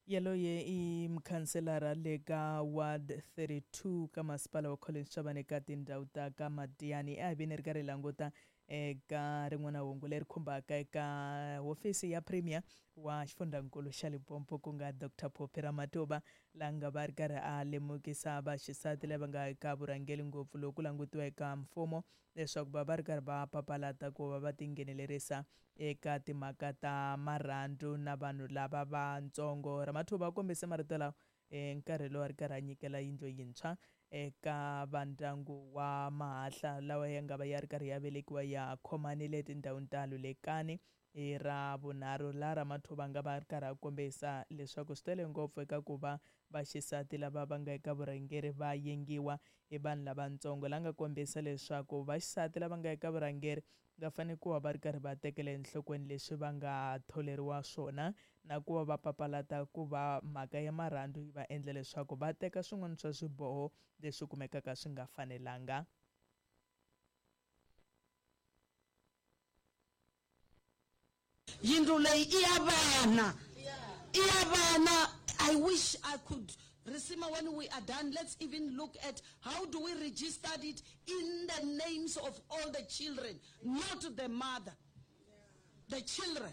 Yaloye i mukhanselara le ka ward 32 ka masipala wa Collins Chabane ka tindhawu ta ka Madiani. A hi veni ri karhi hi languta eka rin'wana hungu leri khumbaka eka hofisi ya premier wa xifundzankulu xa Limpopo ku nga Dr Phophi Ramathuba, la nga va ri karhi a lemukisa vaxisati lava nga eka vurhangeri ngopfu loko ku langutiwa eka mfumo leswaku va va ri karhi va papalata ku va va tinghenelerisa eka timhaka ta marhandzu na vanhu lava vantsongo. Ramathuba u kombise marito lawa nkarhi lowu a ri karhi a nyikela yindlu yintshwa eka vandyangu wa Mahahla lawa ya nga va ya ri karhi ya velekiwa ya khomanile etindhawini ta Lulekani hi ra vunharhu, laha Ramathuba nga va ri karhi a kombisa leswaku swi tele ngopfu eka ku va vaxisati lava va nga eka vurhangeri va yengiwa hi vanhu lavatsongo, la nga kombisa leswaku vaxisati lava nga eka vurhangeri va fanele ku va va ri karhi va tekela enhlokweni leswi va nga tholeriwa swona na ku va va papalata ku va mhaka ya marhandzu yi va endla leswaku va teka swin'wana swa swiboho leswi kumekaka swi nga fanelanga. Yindlu leyi i ya vana, i ya vana. I wish I could Risima, when we are done, let's even look at how do we register it in the names of all the children, not the mother, the children.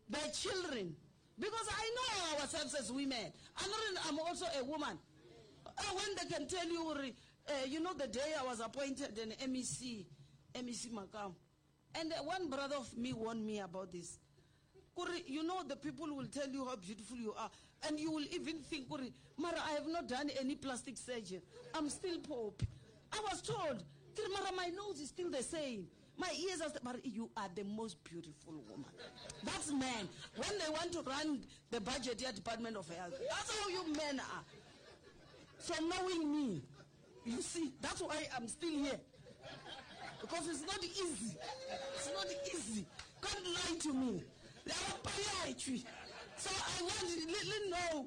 The children. Because I know ourselves as women. I'm, not, I'm also a woman. When they can tell you, you know, the day I was appointed an MEC, MEC Makam, and one brother of me warned me about this. Kuri, you know, the people will tell you how beautiful you are, and you will even think, Kuri, Mara, I have not done any plastic surgery. I'm still Pope. I was told, Kuri, Mara, my nose is still the same. My ears are still, Mara, you are the most beautiful woman. That's men. When they want to run the budget here, Department of Health, that's how you men are. So knowing me, you see, that's why I'm still here. Because it's not easy. It's not easy. Can't lie to me. So I want to let know,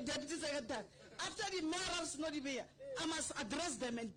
Deputy Secretary, after the mayor of Snodibea, I must address them and